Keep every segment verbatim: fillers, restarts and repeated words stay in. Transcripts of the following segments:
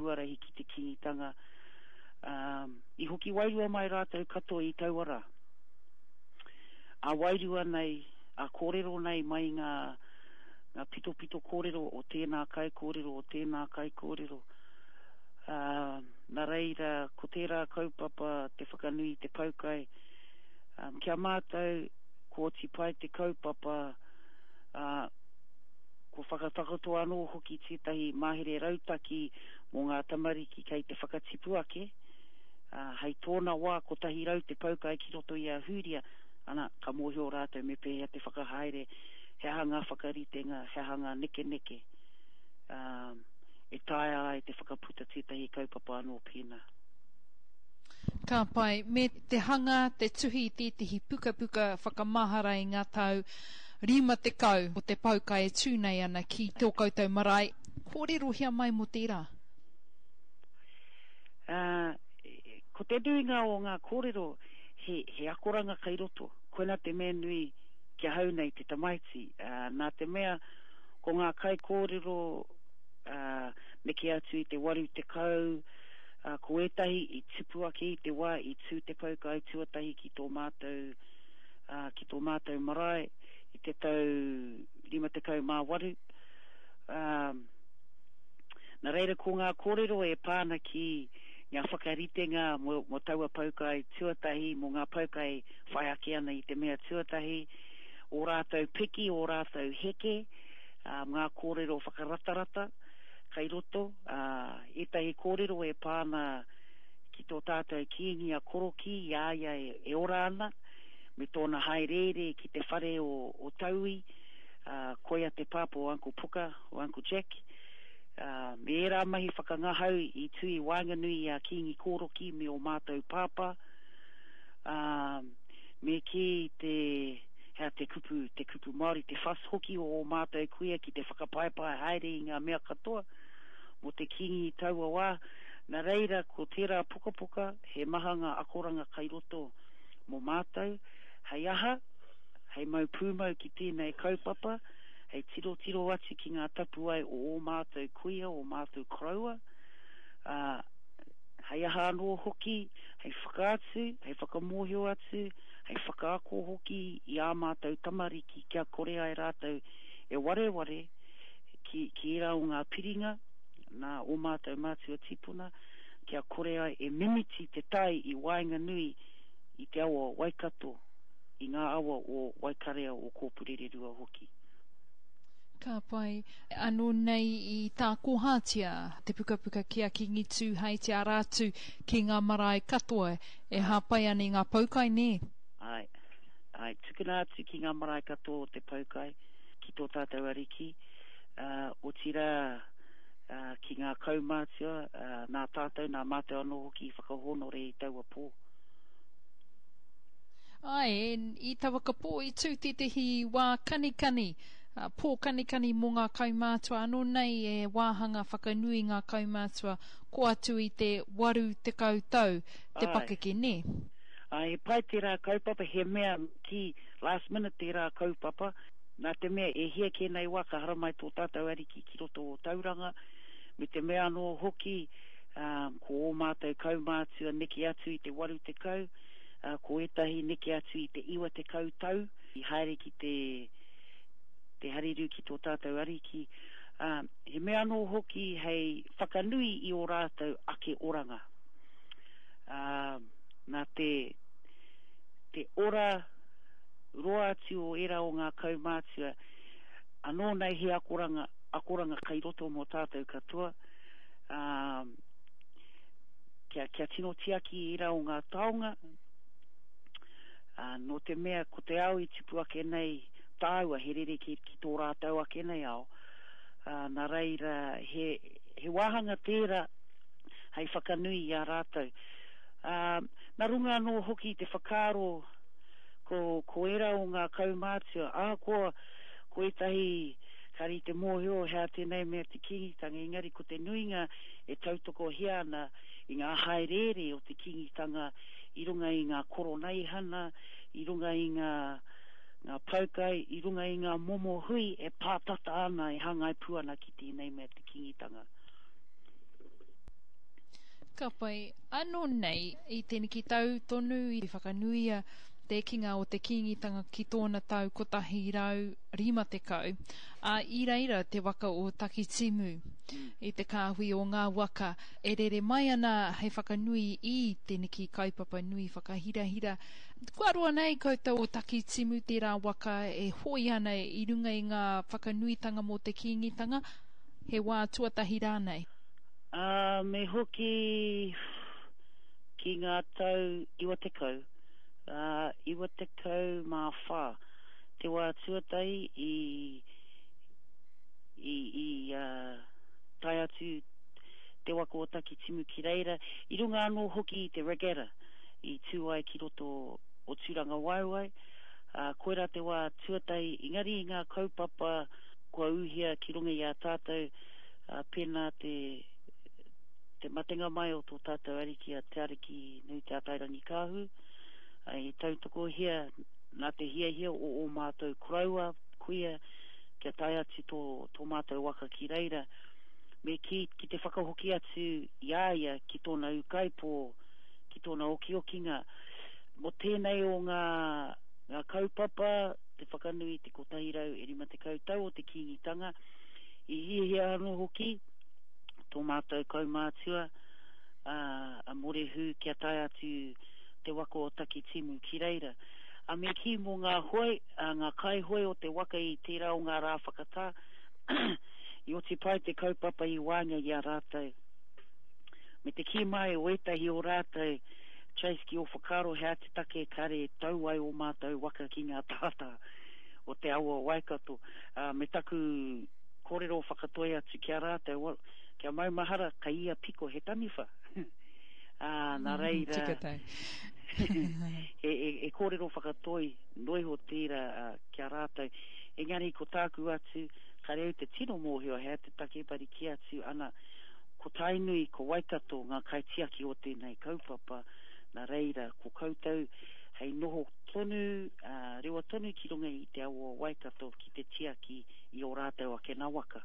huarahi ki te Kīngitanga. Ā, i hoki wairua mai rātou katoa i taua rā. Ā wairua nei, ā kōrero nei mai i ngā, ngā pitopito kōrero o tēnā kaikōrero, o tēnā kaikōrero. Ā, nā reira, ko tērā kaupapa te whakanui i te poukai, ā, ki a mātou, kua oti pai te kaupapa, ā, kua whakatakoto anō hoki tētahi mahere rautaki mō ngā tamariki kei te whakatipu ake, ā, hei tōna wā kotahi rau te poukai ki roto i a Hūria, ana, ka mōhio rātou me pēhea te whakahaere, he aha ngā whakaritenga, he aha ngā nekeneke, ā, e taea ai te whakaputa tētahi kaupapa anō pēnā. Ka pai. Me te hanga, te tuhi i tētehi pukapuka whakamahara i ngā tau rima tekau o te poukai e tū nei ana ki tō koutou marae. Kōrerohia mai mō tērā. Ā, ko te nuinga o ngā kōrero he, he akoranga kei roto. Koina te mea nui ki ahau nei te tamaiti, ā, nā te mea ko ngā kaikōrero, ā, neke atu i te waru tekau, ā, ko ētahi i tupu ake i te wā i tū te poukai tuatahi ki tō mātou, ā, ki tō mātou marae i te tau rima tekau mā waru. Ā, nā reira ko ngā kōrero e pā ana ki ngā whakaritenga mō, mō taua poukai tuatahi, mō ngā poukai whai ake ana i te mea tuatahi, ō rātou piki, ō rātou heke, ā, ngā kōrero whakaratarata kei roto, ā, ētahi kōrero e pā ana ki tō tātou Kīngi a Korokī i a ia e ora ana, me tōna hāereere ki te whare o, o Taui, ā, koia te pāpā o Uncle Puka, o Uncle Jack, ā, me ērā mahi whakangahau i tū i waenganui i a Kīngi Korokī me ō mātou pāpā, ā, me kī te, hea te kupu, te kupu Māori, te fuss hoki o ō mātou kuia ki te whakapaepae haere i ngā mea katoa mō te Kīngi i taua wā. Nā reira, ko tērā pukapuka, he maha ngā akoranga kai roto mō mātou, hei aha, hei mau pūmau ki tēnei kaupapa, hei tirotiro atu ki ngā tapuwae o ō mātou kuia, ō mātou koroua, ā, hei aha anō hoki, hei whakaatu, hei whakamōhio atu, hei whakaako hoki i ā mātou tamariki kia kore ai rātou e wareware ki, ki ērā o ngā piringa nā ō mātou mātua tīpuna, kia kore ai e mimiti te tai i waenganui i te awa o Waikato, i ngā awa o Waikarea o Kōpurererua hoki. Ka pai. Anō nei i tākohatia te pukapuka ki a Kīngi Tūheitia arā atu ki ngā marae katoa e hāpai ana i ngā poukai, nē? Āe. Āe, tukuna atu ki ngā marae katoa o te poukai, ki tō tātou Ariki, ā, otirā, ā, ki ngā kaumātua, ā, nā tātou, nā mātou anō hoki i whakahōnore i taua pō. Āe, i taua pō i tū tētehi wā kanikani, pō kanikani mō ngā kaumātua anō nei e wāhanga whakanui ngā kaumātua ko atu i te waru tekau tau te pakeke, nē? Āe, he pai tērā kaupapa, he mea kī last minute tērā kaupapa, nā te mea e hia kē nei wā ka haramai tō tātou Ariki ki roto o Tauranga, me te mea anō hoki, ko ō mātou kaumātua neke atu i te waru tekau, ā, ko ētahi neke atu i te iwa tekau tau i haere ki te, te harirū ki tō tātou Ariki, ā, he mea anō hoki hei whakanui i ō rātou ake oranga. Ā, nā te, te ora roa atu o ērā o ngā kaumātua, anō nei he akoranga, akoranga kai roto mō tātou katoa, ā, kia, kia tino tiaki i ērā o ngā taonga, ā, nō te mea ko te ao i tupu ake nei tāua he rerekē ki tō rātou ake nei ao, ā, nā reira he, he wāhanga tērā hei whakanui i a rātou. Ā, nā runga anō hoki i te whakaaro ko, ko ērā o ngā kaumātua, ahakoa ko ētahi kāre i te mōhio he aha tēnei mea te Kīngitanga, engari ko te nuinga e tautokohia ana i ngā hāereere o te Kīngitanga i runga i ngā koroneihana, i runga i ngā, ngā poukai, i runga i ngā momo hui e pātata ana, e hāngai pū ana ki tēnei mea te Kīngitanga. Ka pai. Anō nei, i tēneki tau tonu i whakanuia te ekenga o te Kīngitanga ki tōna tau kotahi rau rima tekau, ā, i reira te waka o Takitimu i te kāhui o ngā waka e rere mai ana hei whakanui i tēneki kaupapa nui whakahirahira. Kua roa nei koutou o Takitimu tērā waka e hoe ana i runga i ngā whakanuitanga mō te Kīngitanga, he wā tuatahi rānei? Ā, me hoki ki ngā tau iwa tekau, ā, iwa tekau mā whā, te wā tuatahi i, i, i, ā, tae atu te waka o Takitimu ki reira, i runga anō hoki i te regatta i tū ai ki roto o Tūrangawaewae, ā, koirā te wā tuatahi, engari i ngā kaupapa kua ūhia ki runga i a tātou, ā, pēnā te, te matenga mai o tō tātou ariki a Te Ariki Nui Te Atairangikaahu, ā, i tautokohia nā te hiahia o ō mātou koroua, kuia, kia tae atu tō, tō mātou waka ki reira, me kī ki te whakahoki atu i a ia ki tōna ūkaipō, ki tōna okiokinga. Mō tēnei o ngā, ngā kaupapa, te whakanui i te kotahi rau e rima tekau tau o te Kīngitanga, i hiahia anō hoki tō mātou kaumātua, a, a Morehu kia tae atu te waka o Takitimu ki reira. A me kī mō ngā hoe, a, ngā kaihoe o te waka i tērā o ngā rā whakatā, i oti pai te kaupapa i waenga i a rātou. Me te kī mai o ētahi o rātou, Trace, ki ō whakaaro he aha te take kare tau ai ō mātou waka ki ngā tātā o te awa o Waikato. Ā, me taku kōrero whakatoi atu ki a rātou, well, kia maumahara, kei ia piko he taniwha. Ā, nā reira, Tika tau. e, e, e kōrero whakatoi noa iho tērā uh, ki a rātou. Engari ko tāku atu, kare au te tino mōhio he aha te take, but i kī atu ana, ko Tainui, ko Waikato ngā kaitiaki o tēnei kaupapa, nā reira, ko koutou hei noho tonu, uh, rewa tonu ki runga i te awa o Waikato ki te tiaki i ō rātou ake nā waka,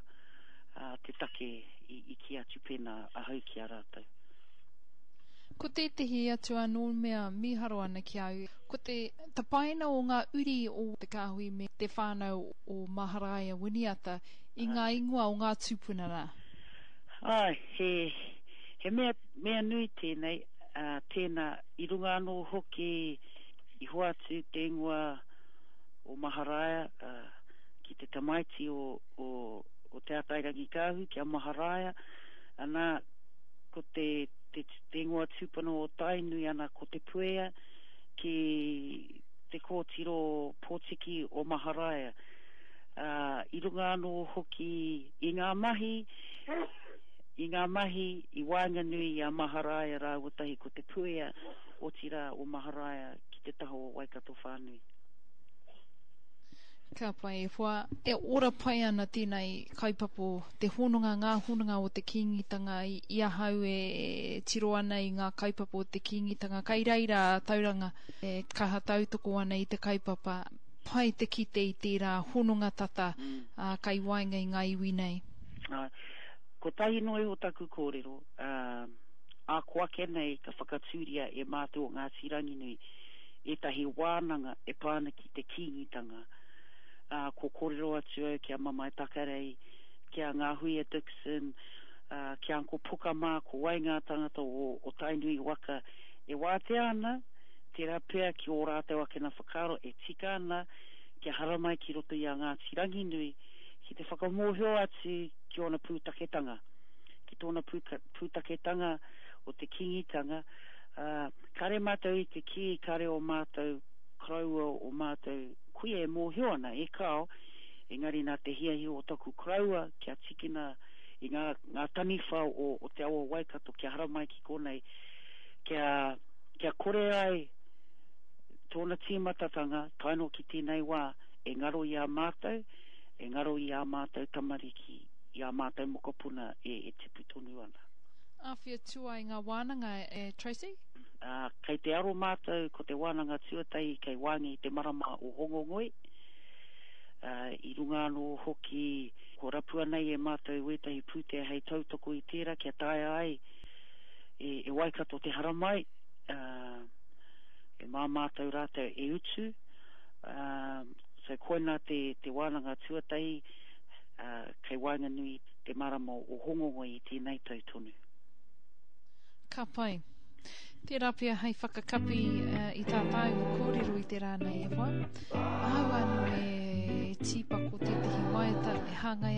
uh, te take i, i kī atu pēnā ahau ki a rātou. Ko tētehi atu anō mea mīharo ana ki au, ko te tapaina o ngā uri o te kāhui me te whānau o Maharaia Winiata i ngā ingoa o ngā tūpuna rā. Ai, he, he mea, mea nui tēnei, uh, tēnā, i runga anō hoki i hoatu te ingoa o Maharaia uh, ki te tamaiti o, o, o Te Atairangikaahu, ki a Maharaia, ana ko te, te, te ingoa tūpuna o Tainui ana ko Te Puea ki te kōtiro pōtiki o Maharaia. Uh, i runga anō hoki i ngā mahi, i ngā mahi i waenganui i a Maharaia rāua tahi ko Te Puea, otirā o Maharaia ki te taha o Waikato whānui. Ka pai e hoa, e ora pai ana tēnei kaupapa, te hononga, ngā hononga o te Kīngitanga i, i ahau e tiro ana i ngā kaupapa o te Kīngitanga. Kai reira a Tauranga e kaha tautoko ana i te kaupapa, pai te kite i tērā hononga tata Mm. ā, kai waenga i ngā iwi nei. Ā, kotahi noa iho taku kōrero, ā, ā ko ake nei ka whakatūria e mātou o Ngāti Ranginui ētahi wānanga e pā ana ki te Kīngitanga. Ā, ko kōrero atu au ki a Mamae Takarei, ki a Ngāhuia Dixon, ā, ki a Uncle Puka mā, ko wai ngā tangata o, o Tainui waka e wātea ana, tērā pea ki ō rātou ake nā whakaaro e tika ana kia haramai ki roto i a Ngāti Ranginui ki te whakamōhio atu ki ōna pūtaketanga, ki tōna pūka, pūtaketanga o te Kīngitanga. Uh, kare mātou i te kī, kare o mātou koroua o mātou kuia e mōhio ana, e kao, engari nā te hiahia o taku koroua kia tikina i ngā, ngā taniwha o, o te awa Waikato kia haramai ki konei, kia, kia kore ai tōna tīmatatanga tae noa ki tēnei wā e ngaro i a mātou, e ngaro i a mātou tamariki, i a mātou mokopuna e, e tipu tonu ana. Āwhia tua i ngā wānanga, e Tracy? Uh, kei te aro mātou ko te wānanga tuatahi kei waenga i te marama o Hongongoi. Uh, i runga anō hoki ko rapua nei e mātou wētahi pūtea hei tautoko i tērā kia taea ai e, e Waikato te haramai, uh, e mā mātou rātou e utu. Uh, so koina te, te wānanga tuatahi uh, kei waenganui te marama o Hongongoi i tēnei tau tonu. Ka pai. Tērā pea hei whakakapi uh, i tā tāua kōrero i te rā nei e hoa. Ahau anō e tīpako tētehi waiata e hāngai